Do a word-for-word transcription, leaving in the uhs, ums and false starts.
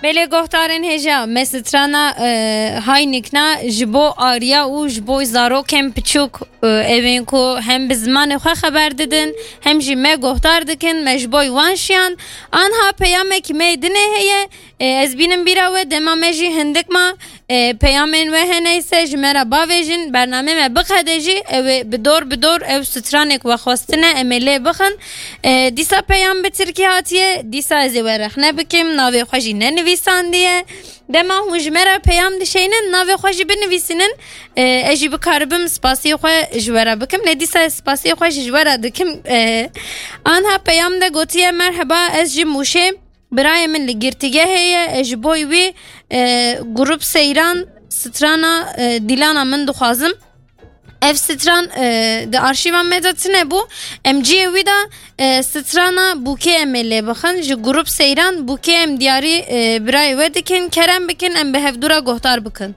Belê guhdarên hêja, me strana e, Hay Nikna ji bo Arya û ji bo zarokên piçûk, e, ewên ku hem bi zimanê xwe xeber didin, hem jî me guhdar dikin, me ji bo wan şiyand. Anha peyamekî me yê dinê heye. E, ez bînim bîra we, dema me jî hindik ma, e, peyamên we hene ise ji me re bavêjin, bernamê me biqede jî, ew ê bi dor bi dor ew stranek we xwestine, em ê lê bixin. E, dîsa peyam bi tirkî hatiye, dîsa ez ê we rexne bikim, navê xwe jî nenivîsandiye. Dema hûn ji me re peyam dişeynin, navê xwe jî binivîsînin, e, ez jî bikaribim spasiyê xwe ji we re bikim. Lê dîsa ez spasiyê xwe jî ji we re dikim. E, anha peyam de gotiye, merheba, ez ji Mûşê, birayê min li girtîgehê ye, ez ji bo wî, e, grup seyran strana, e, dîlana min dixwazim. Ev stran, e, di arşîva me de tune bû. Em cihê wî de, e, strana bûkê em ê lê bixin. Ji grup seyran bûkê em diyarî, e, birayê we dikin. Kerem bikin, em bi hevdû re guhdar bikin.